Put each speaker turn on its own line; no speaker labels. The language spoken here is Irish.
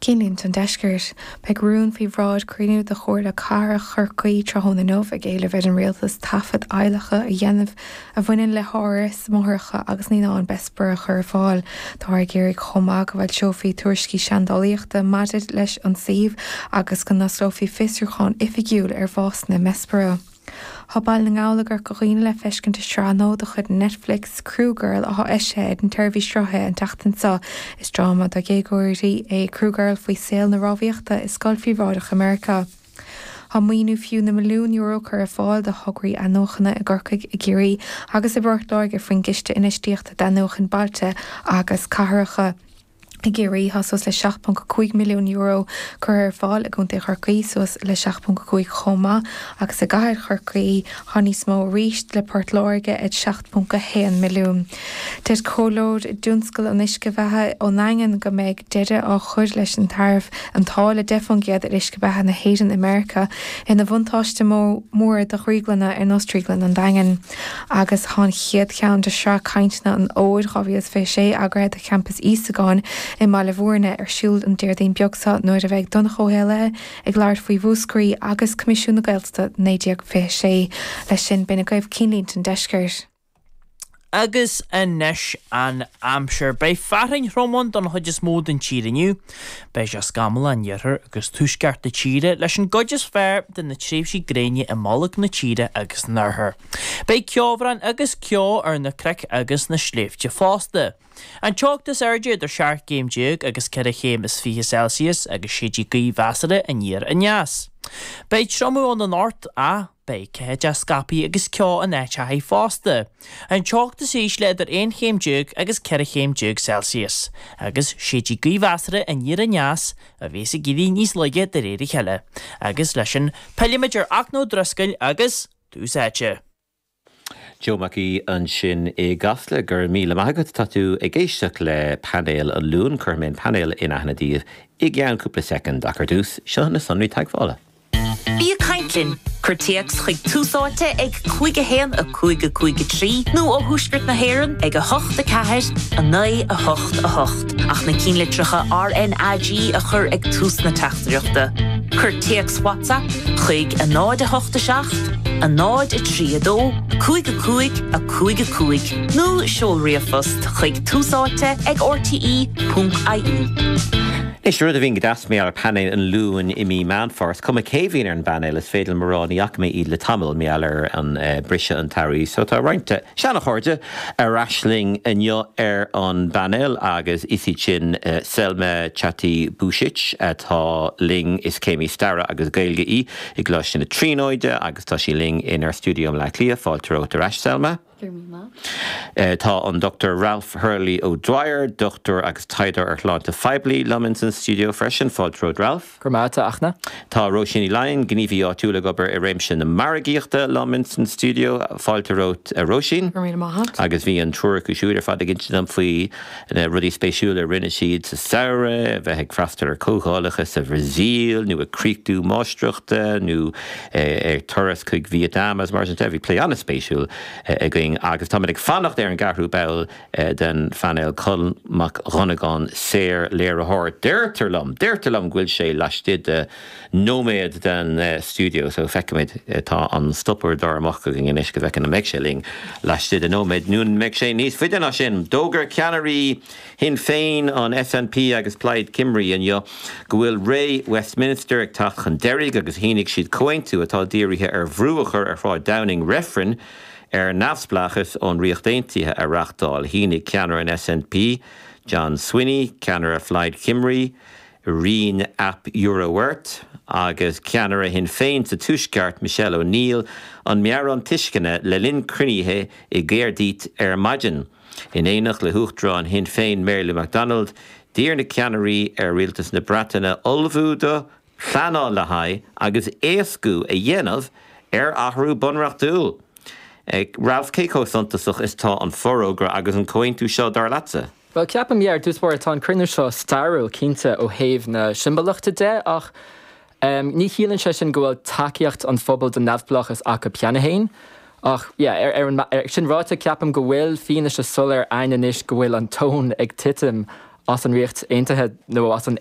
Cinnlínte an Deiscirt. Beidh rún faoi bhráid cruinniú de Chomhairle Cathrach Chorcaí tráthnóna inniu ag éileamh ar an Rialtas taifead adhlactha a dhéanamh a bhaineann le háras máithreacha agus naíonán Bessborough a chur ar fáil. Táthar ag iarraidh chomh maith go bhfoilseofaí tuairiscí seandálaíochta maidir leis an suíomh agus go n-osclófaí fiosrúchán oifigiúil ar bhásanna i mBessborough. Tá Baile na nGall i gCorca Dhuibhne le feiscint i sraith nua de chuid Netflix, Crew Girl, atá eisithe ag an tseirbhís sruthaithe an tseachtain seo. Is dráma do dhéagóirí é Crew Girl faoi saol na rámhaíochta i scoil phríobháideach i Meiriceá. Tá maoiniú fiú na milliún euro curtha ar fáil do thograí athnuachana i gCorcaigh, i gCiarraí agus i bPort Láirge faoin gCiste Infheistíochta d'Athnuachan Bailte agus Cathracha. I gCiarraí, tá suas le €7.5 milliún curtha ar fáil, i gContae Chorcaí suas le 7.5 chomh maith agus i gcathair Chorcaí tá níos mó arís, le Port Láirge ag 7.1 milliún. Deir comhairleoir i dtionscal an uisce beatha ón nDaingean go mbeidh deireadh á chur leis an taraif, an táille 10% ar uisce beatha na hÉireann i Meiriceá, ina bhuntáiste mór do dhrioglanna ar nós Drioglann an Daingin. Agus tá an chéad cheann de shraith cainteanna an Fhómhair 2026 eagraithe do Champas Íosagáin i mBaile Bhúirne ar siúl an Déardaoin beag seo nuair a bheidh Donncha Ó hÉallaithe ag labhairt faoi Mhúscraí agus Coimisiún na Gaeltachta 1926. Leis sin, b'in agaibh Cinnlínte an Deiscirt.
Agus anois an aimsir. Beidh fearthainn throm ann don chuid is mó den tír inniu. Beidh sé scamallach in iarthar agus tuaisceart na tíre, leis an gcuid is fearr de na tréimhsí gréine i mbolg na tíre agus san oirthear. Beidh ceobhrán agus ceo ar na cnoic agus na sléibhte fosta. An teocht is airde idir 17 gcéim agus 4 chéim is 20 Celsius agus séidfidh gaoth mheasartha aniar aneas. Beidh triomú ann anocht ach beidh ceathaideach scaipthe agus ceo in áiteachaí fosta. An teocht is ísle idir 11 chéim agus 14 chéim Celsius agus séidfidh gaoth mheasartha aniar aneas a bheas ag éirí níos laige de réir a chéile. Agus leis sin, pillfimid ar Fhachtna Ó Drisceoil agus Tús Áite.
Joe Mac Aoidh ansin i gCasla. Go raibh míle maith agat. Tá tú ag éisteacht le Painéal an Luain. Cuirfidh mé an painéal in aithne daoibh i gceann cúpla soicind ach ar dtús, seo na sonraí teagmhála.
Bí ag caint linn! Cuir téacs chuig Tús Áite ag 5 1 5 5 3 nó ó Thuaisceart na hÉireann ag 8 4 9 8 8 ach na cinnlitreacha RnaG a chur ag tús na teachtaireachta. Cuir téacs WhatsApp chuig 0 8 7 0 3 2 5 5 5 5 nó seol ríomhphost chuig túsáite ag rte.ie.
Anois, rud a bhíonn go deas mar gheall ar Painéal an Luain i mí Meán Fómhair, is cuma cé bhíonn ar an bpainéal, is féidir liom a rá ní fhaca mé iad le tamall mar gheall ar an briseadh an tsamhraidh so tá roinnt seana-chairde ar ais linn inniu ar an bpainéal agus is iad sin Selma Chatibusich atá linn, is céimí staire agus Gaeilge í i gColáiste na Tríonóide agus tá sí linn inár stiúideo i mBleá Cliath. Fáilte romhat ar ais, Selma.
Go raibh míle maith.
Tá an Dr Ralph Hurley O'Dwyer, dochtúir agus taighdeoir ar shláinte phoiblí, liom ins an stiúideo freisin. Fáilte romhat, Ralph.
Go raibh maith agat, a Fhachtna.
Tá Róisín Ní Laighin, gníomhaí áitiúil ag obair i réimse na margaíochta, liom ins an stiúideo. Fáilte romhat, a Róisín.
Go raibh míle maith agat.
Agus bhí an triúr acu siúd ar fad ag insint dom faoi na rudaí spéisiúla a rinne siad sa samhradh, a bheith ag freastal ar comhdhálacha sa Bhrasaíl nó ag críochnú máistreachta nó ar turas chuig Vietnam agus mar sin de. Bhí plé an-spéisiúil againn agus táimid ag fanacht ar an gceathrú ball den phainéal, Colm Mac Dhonnagáin, saor-léiritheoir. Deirtear liom, deirtear liom go bhfuil sé laistigh de nóiméad den stiúideo so feicfimid. Tá an stopuaireadóir amach againn anois go bhfeicfinn an mbeidh sé linn laistigh de nóiméad nó an mbeidh sé níos faide ná sin. D'fhógair ceannairí Shinn Féin, an SNP agus Plaid Cymru inniu go bhfuil ré Westminster ag teacht chun deiridh agus shínigh siad comhaontú atá dírithe ar bhrú a chur ar Shráid Downing reifreann ar neamhspleáchas ón Ríocht Aontaithe a reáchtáil. Shínigh ceannaire an SNP, John Swinney, ceannaire Phlaid Cymru, Rhun ap Iorwerth, agus ceannaire Shinn Féin sa Tuaisceart, Michelle O'Neill, an meabhrán tuisceana le linn cruinnithe i gCaerdydd ar maidin. In éineacht le hUachtarán Shinn Féin Mary Lou McDonald, d'iarr na ceannairí ar Rialtas na Breataine ullmhú do, pleanáil le haghaidh agus éascú a dhéanamh ar athrú bunreachtúil. Ralph, cé chomh suntasach is atá an forógra agus an comhaontú seo, dar leatsa?
Bhuel, ceapaim, yeah, ar dtús báire, tá an cruinniú seo stairiúil, cinnte, ó thaobh na siombalachta de, ach ní chiallaíonn sé sin go bhfuil tacaíocht an phobail don neamhspleáchas acu cheana féin. Ach, yeah, ar an, ar, sin ráite, ceapaim go bhfuil fianaise soiléir ann anois go bhfuil an tóin ag titim as an Ríocht Aontaithe nó as an.